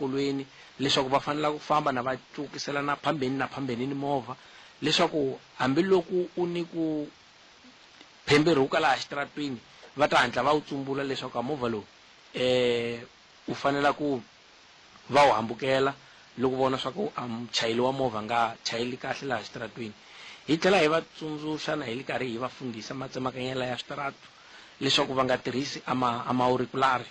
xikolweni leswaku va fanela ku famba na va cukisela na phambeni na phambeni ni movha leswaku hambiloko u ni ku phemberhuka laha xitaratwini va ta hatla va wu tsumbula leswaku a movha lowu u fanela ku va wu hambukela loko vona swa ku a muchayeri wa movha nga chayeli kahle laha xitaratwini. Hi tlhela hi va tsundzuxa na hi ri karhi hi va fundhisa matsemakanyela ya switaratu leswaku va nga tirhisi a ma a maurikulari.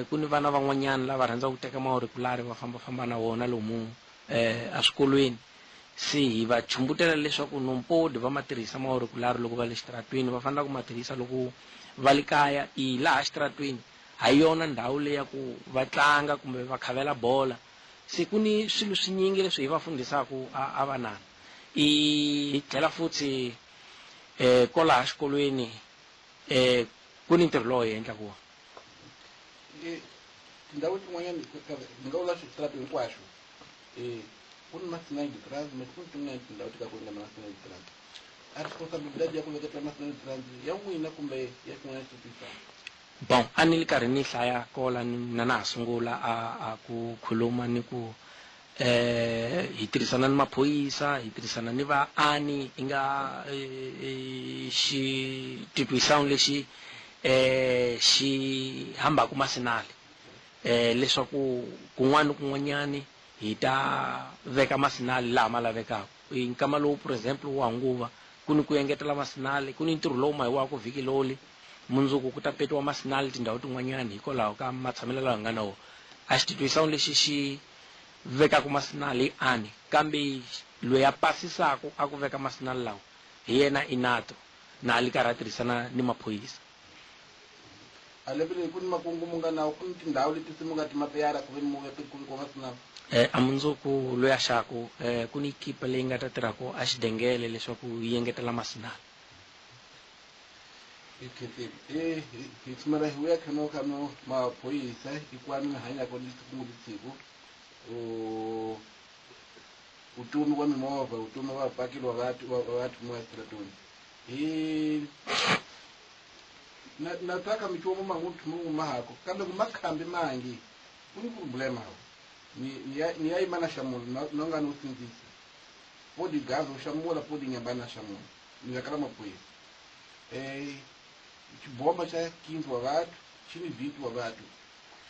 Ku ni vana van'wanyana lava rhandzaka ku teka maurikulari va fambafamba na wona lomu eswikolweni. Se hi va chumbutela leswaku non pode va ma tirhisa maurikulari loko va le xitaratwini, va fanele ku ma tirhisa loko va le kaya. I laha xitaratwini ha yona ndhawu leyi ya ku va tlanga kumbe va khavela bola. Se ku ni swilo swinyingi leswi hi va fundhisaka a vanana. I hi tlhela futhi kwalaha xikolweni ku ni ntirho lowu hi endlaka wona. Tindhawu tin'wanyana ni nga vula switarata hinkwaswo ku ni ma-sinal de trans me ku ni tin'wanyana tindhawu ti ka ku nga na ma-sinal de trans. A responsibilidade ya ku veketela ma-sinal de trans ya n'wina kumbe ya xin'wana xi. Bon, a ni ri karhi ni hlaya kola na na ha sungula a ku khuluma ni ku hi tirhisana ni maphorisa, hi tirhisana ni vaani i nga xititwisano lexi xi hambaka masinali leswaku kun'wana ni kun'wanyani hi ta veka masinali laha ma lavekaka. Hi nkama lowu for example wa nguva ku ni ku engetela masinali, ku ni ntirho lowu mahiwaka vhiki loli mundzuku ku ta petiwa masinali tindhawu tin'wanyana hikwalaho ka matshamelo lawa hi nga na wona. A xititwisano lexi xi vekaka masinali i ani, kambe loyi a pasisaka a ku veka masinali lawa hi yena inato na a li karhi a tirhisana ni maphorisa. A lembe leri ku ni makungu mu nga nawo, ku ni tindhawu leti se mu nga ti mapeyara ku ve ni mu veka ku vekiwa masinali. A mundzuku loyi a xaku ku ni ekipa leyi nga ta tirhaka a xidengele leswaku yi engetela masinali. Hi khensile hi tshumela hi vuya khano khano maphorisa hikwani mi hanyaka ni siku ni siku vutomi wa mimovha, vutomi wa vapakeli wa vatu wa vatu mo exitaratweni. Hi na na tsaka michumu man'we mu mahako kambe ku makhambi mangi ku ni problema hawo ni ni ya ni ya yima na xamula na nga no sindzisa podi gaza u xamula podi nyamba na xamula ni veka la maphorisa xibomba xa 15 wa vatu xi ni 20 wa vatu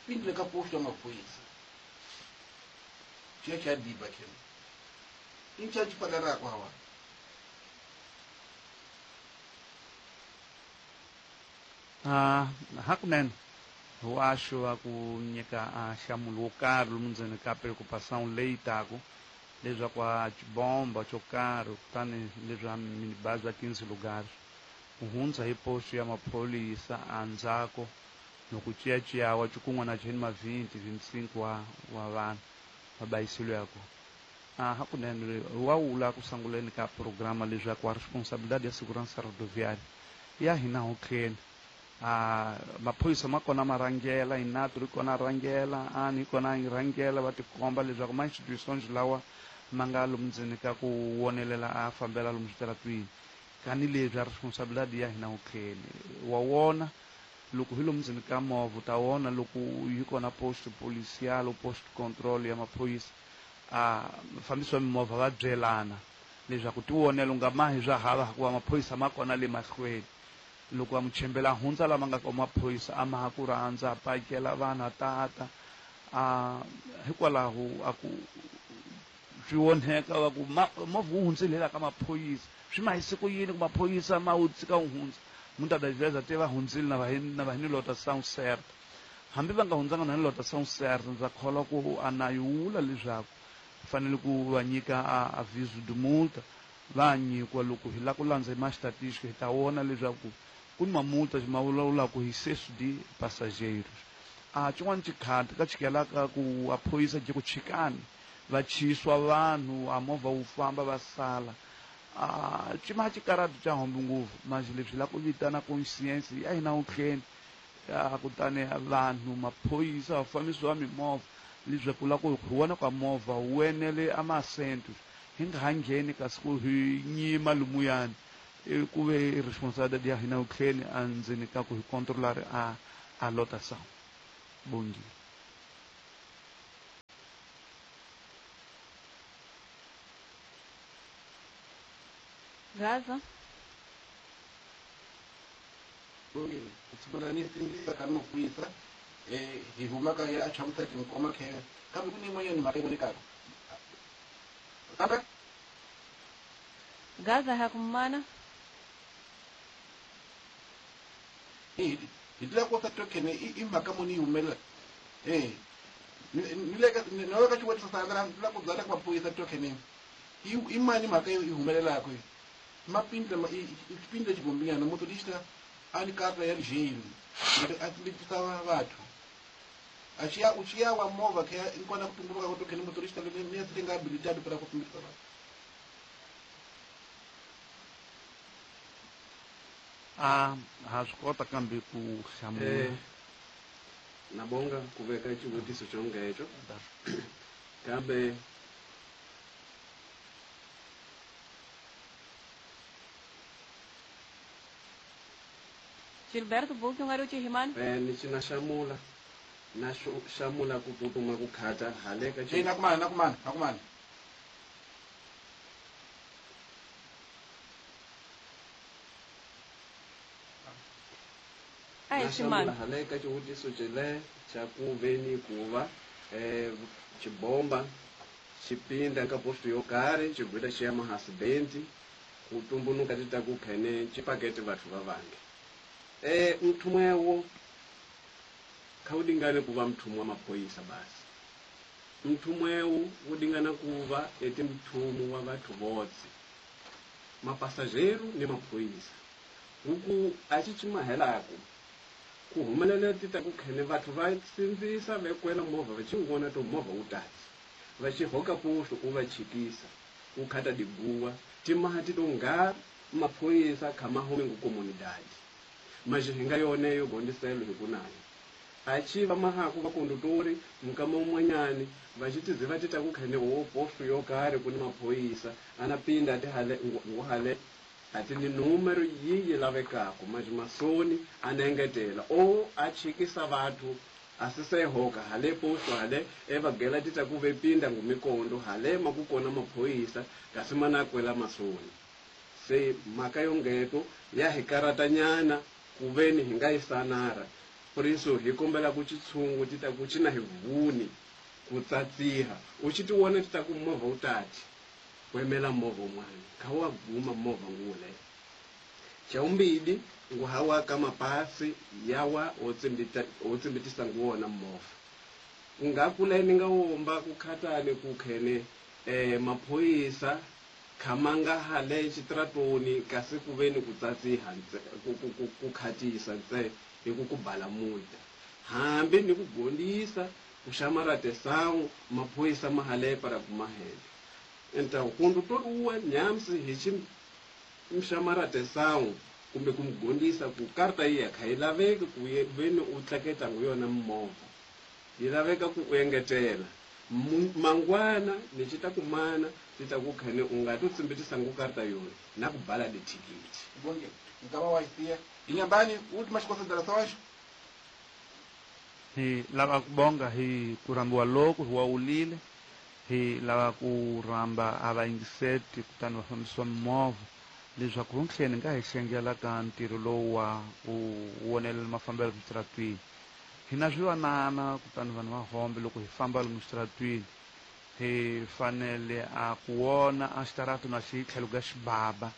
pindile ka posto ya maphorisa xiya xa diba kena i nca xi paleraka hawa. Hakunene wa xo va ku nyika a nhlamulo wo karhi lomu ndzeni ka preocupação leyi taku leswaku a xibomba xo karhi kutani leswi a minibazi ya 15 lugares ku hundza hi posto ya maphorisa endzhaku loko ciyaciyawa cikun'wana na ma 20 25 wa vanhu va bayisilo ya kona. Hakunene wa wula ku sunguleni ka programa leswaku a responsabilidade ya segurança rodoviária ya hina hotleni. Maphorisa ma kona ma rhangela inato ri kona rhangela ani yi kona yi rhangela va tikomba leswaku ma institutions lawa ma nga lomu ndzeni ka ku wonelela a fambela lomu switaratwini kani leswi a responsabilidade ya hina hotleni. Wa wona loko hi lomu ndzeni ka movha u ta vona loko yi kona post policial post control ya maphorisa a mufambisi wa mimovha va byelana leswaku ti vonela u nga mahi swa hava hikuva maphorisa ma kona le mahlweni. Loko va muchembela hundza lama nga ka maphorisa a ma ha ku rhandza a pakela vanhu a tata a hikwalaho a ku swi onheka va ku movha wu hundzile la ka maphorisa swi ma hise ku yini ku maphorisa ma wu tshika wu hundza muitas das vezes até va hundzile na va na va hi ni lotação certa hambi va nga hundzanga na ni lotação certa ndza kholwa ku a na yi wula leswaku fanele ku va nyika a aviso de multa va nyikiwa loko hi lava ku landza hi ma estatística hi ta vona leswaku ku ni mamulta ma vulavulaka hi excesso de passageiros. A xin'wana xikhati ka chikelaka ku a phorisa je ku chikani va chiswa vanhu a movha wu famba va sala a xima xikarati xa hombe ngopfu manje leswi la ku vitana conscience ya hina wutlheni kutani vanhu maphorisa vafambisi va mimovha leswaku la ku hi vona ka movha wu enele a masentos hi nga ha ngheni kasi ku hi nyima lumuyani ku ve responsabilidade ya hina wutlheni endzeni ka ku hi controlar a lotação. Bom dia. Gaza. Ka hi humaka ya chamusa tinkoma khe kambe ku ni yin'wanyana mhaka yi vonekaka kambe Gaza hakumana. Hi tila ku token i mhaka muni yi humelela ni le ka ni le ka xivutiso sa la ku byala ku maphorisa token i mani mhaka yi humelelaka mapindla i xipindla xigombinyana motorista a ni karta ya jail a tsimbitisa vathu a xiya u xiya wa movha khe inkwana ku tumbuluka ko token motorista ni ya sile nga habilitado para ku tsimbitisa vathu. A ha swi kota kambe ku hlamula. Nabonga ku veka xivutiso xongecho kambe Gilberto Buki ungari uchihiman? Ni xi na xamula na xamula ku tsutsuma ku khata hale ka na kumana Ai ximana hale ka xivutiso xele xa ku veni ku va xibomba xipinda ka posto yo karhi xigwita xi ya mahasibenti ku tumbunuka ti ta ku khene xipakete vathu va vange. Mthumwewo kha wu dingane ku va mthumu wa maphoyisa basi. Mthumwewo wu dingana ku va eti mthumu wa vathu votse mapasajeru ni maphoyisa. Huku a xi chimahelaku ku humelela ti ta ku khene vathu va sindzisa vekwela movha va xi vona to movha wu tatsi va xi hoka posto u va chikisa u khata diguwa timaha ti to nga maphoyisa kha mahome ngu comunidade maji hinga yone yo gondiselo hi kunayo a chi va mahaku va kondutori mukama umwanyani va xi tiziva ti ta ku khene wo posto yo karhi ku ni maphoyisa ana pinda ti hale nguhale ati ni numero yi lavekako maji masoni anengetela o a chikisa vathu asisehoka hale posto hale evagela ti ta ku ve pinda ngumikondo hale makukona maphoyisa kasi mana kwela masoni se mhaka yongeto ya hi karatanyana ku veni hi nga yi sanara puriso hi kombela ku xitshungu ti ta ku xi na hi vuni ku tsatsiha u xi ti vona ti ta ku movha wu tati ku emela movha wun'wana kha wa guma movha ngule xa vumbili ngu hawa ka mapasi yawa wo tsimbitisa ngu wona movha ku nga kula ni nga womba ku khatani ku khene maphoyisa khamanga hale xitratoni kasi ku veni ku tsatsiha ku khatisa ntse hi ku ku bala multa hambi ni ku gondisa ku xamara tesangu maphoyisa ma hale para ku mahele enta kundu to uwa nyamsi hi xi mxamara tesangu kumbe ku mugondisa ku karta yi ya kha yi laveki ku veni u tleketa ngu yona movha yi laveka ku u engetela mangwana ni xi ta kumana ti ta ku khane u nga to tsimbitisa ngu karta yona na ku bala dithikithi bonge nkava wa isiya inyambani últimas considerações. Hi lava ku bonga hi ku rambiwa loku hi wa wulile hi lava ku ramba a vayingiseti kutani va fambisiwa mimovha leswaku rontlheni nga hi xengela ka ntirho lowu wa ku wonelela mafambelo switaratwini. Hi na swivanana kutani vanhu va hombe loko hi famba lomu switaratwini hi fanele a ku wona a xitarato na xi tlhelo ka xibaba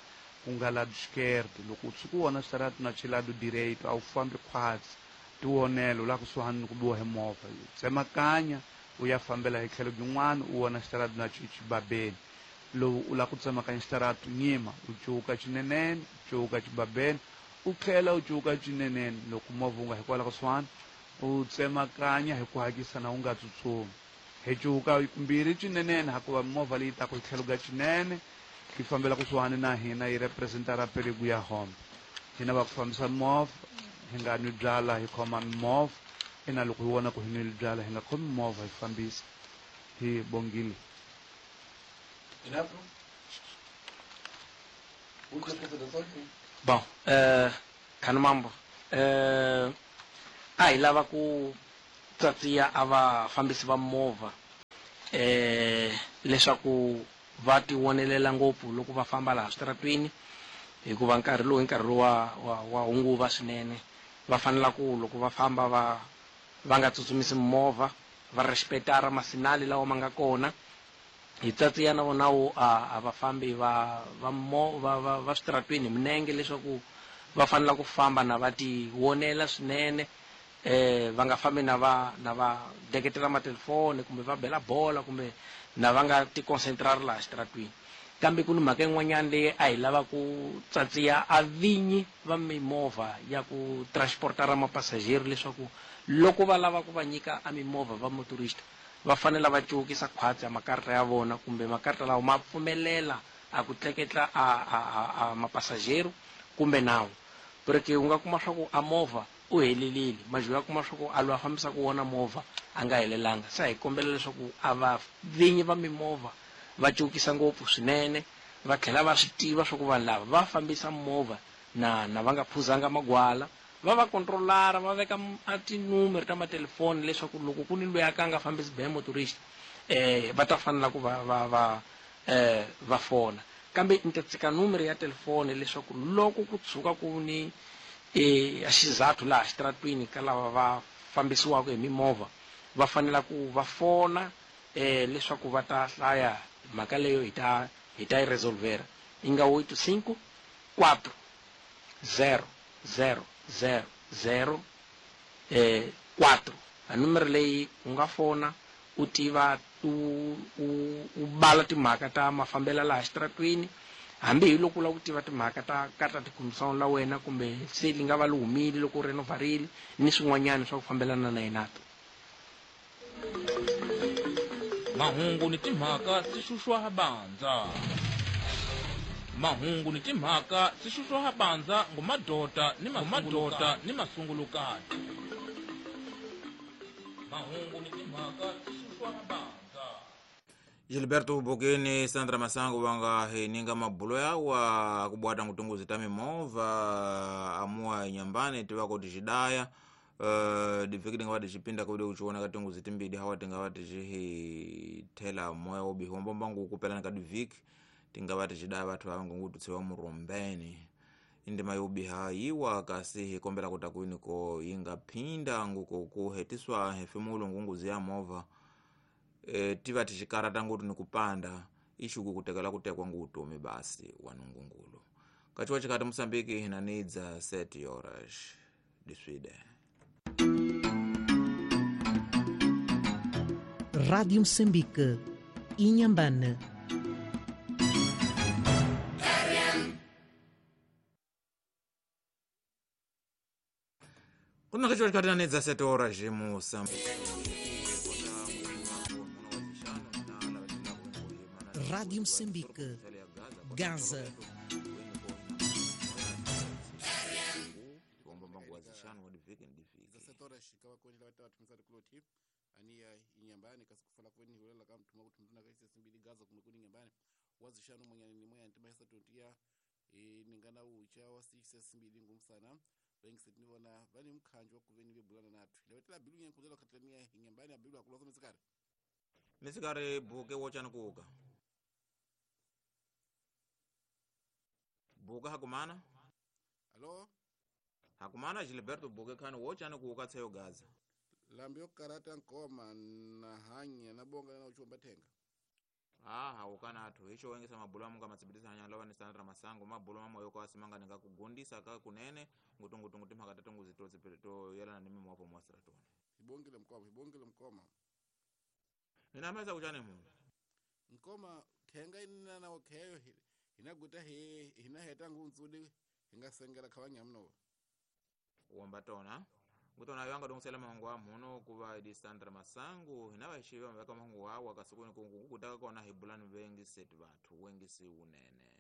ku nga lado esquerdo loko u tshuka u vona xitarato na xi lado direito a wu fambi khwatsi ti wonelo la kusuhani ni ku biwa hi movha tsemakanya u ya fambela hi tlhelo byin'wana u vona xitarato na xi xibabeni lowu u lava ku tsemakanya xitarato nyima u cuka xinenene u cuka xibabeni u tlhela u cuka xinenene loko movha wu nga hikwalaho kusuhani u tsemakanya hi ku hatlisa na u nga tsutsumi hi cuka kumbirhi xinenene hakuva movha leyi taka hi tlhelo ka xinene yi fambela kusuhani na hina yi representa ra perigo ya hombe hina va ku fambisa movha hi nga nwi byala hi khoma mimovha ina loko hi vona ku hi nwile byala hi nga khomi movha hi fambisa hi bongile. Bom, khani mambo a hi lava ku tsatsiya a vafambisi va movha leswaku va ti wonelela ngopfu loko va famba laha switaratwini. Hikuva nkarhi lowu i nkarhi lowu wa hunguva swinene. Va fanela ku loko va famba va nga tsutsumisi mimovha, va respectara masinali lawa ma nga kona. Hi tsatsiya na vona wo a va fambi va switaratweni hi minenge leswaku va fanela ku famba na va ti vonela swinene. Va nga fambi na va deketela matelefoni kumbe va bela bola kumbe na va nga ti concentrari laha xitaratweni. Kambe ku ni mhaka yin'wanyana leyi a hi lava ku tsatsiya a vinyi va mimovha ya ku transportara mapasajeri leswaku loko va lava ku va nyika a mimovha va motorista va fanele va cukisa khwatsi ya makarata ya vona kumbe makarata lawa ma pfumelela a ku tleketla a mapasajeri kumbe nawu. Porque u nga kuma swa ku a movha u helelile, majuya kuma swa ku a loyi a fambisaka wona movha a nga helelanga. Se hi kombela leswaku a va vinyi va mimovha va cukisa ngopfu swinene, va tlhela va swi tiva swa ku vanhu lava va fambisa movha na va nga phuzanga magwala, va controlara, va veka a tinumero ta matelefoni leswaku loko ku ni loyi a ka nga fambisi be motorist va ta fanela ku va fona. Kambe ni ta tshika numero ya telefoni leswaku loko ku tshuka ku ni xizathu laha xitaratwini ka lava va fambisiwaka hi mimovha va fanela ku va fona leswaku va ta hlaya mhaka leyo hi ta yi resolvera. I nga 85 4 0 0 0 0 4. A numero leyi u nga fona u tiva u bala timhaka ta mafambelo laha xitaratwini, hambi hi loko u lava ku tiva timhaka ta karata tikhomisana la wena kumbe se li nga va li humile loko u renovarile ni swin'wanyana swa ku fambelana na yena. Mahungu ni timhaka swi xuxwa bandza. Mahungu ni timhaka swi xuxwa bandza ngumadota ni mamadota ni masungulukati. Mahungu ni timhaka swi xuxwa bandza. Gilberto Bokeni Sandra Masango wanga hininga mabulo yawa kubwata ngutunguzi ta mimovha amua nyambani tiwako tishidaya. Diviki tingava tichipinda kude uchiona katunguzi timbidi hawa tingava tichihithela moya wobihi wambombangu kupelana ka diviki tingava tichidaya vathu vava ngungututsiwa murombeni. Indima yobiha yiwa kasi hikombela kutakwini ko yingaphinda nguko kuhetiswa hefemulo ngunguzi ya movha. Tiva tichikarata ngutu ni kupanda ishuku kutekela kutekwa ngutomi basi wanungungulu. Kachiwa chikati Mosambiki hinanidza 7 horas diswide. Rádio Moçambique, Inhambane. Kuna kachiwa chikati nanidza 7 horas Moçambique. Rádio Moçambique, Gaza. Misikari buke wochani kuuka. Buka hakumana? Alo? Hakumana Gilberto buke khani wochani kuuka tseyo Gaza. Lambio karata nkoma na hanya na bonga na uchomba tenga. Ah, ukana athu icho wengesa mabulo amunga matsibitisa hanya lova ni Sandra Masango mabulo mamoyo kwa simanga ninga kugundisa ka kunene ngutungutungu timhaka tatungu zitotsi to yelana ni mimo wapo mwasratoni. Ibongile mkoma, ibongile mkoma. Ninameza kuchane mungu. Nkoma tenga inina na okeyo inaguta he inaheta ngunzudi ingasengera kawanya mno. Wambatona. Ngutona yanga dongusela mahungu wa muno kuva idi Sandra Masango hinava ishiva mabeka mahungu wa wakasukuni kungu kutaka kona hibulani wengi seti watu wengi si unene.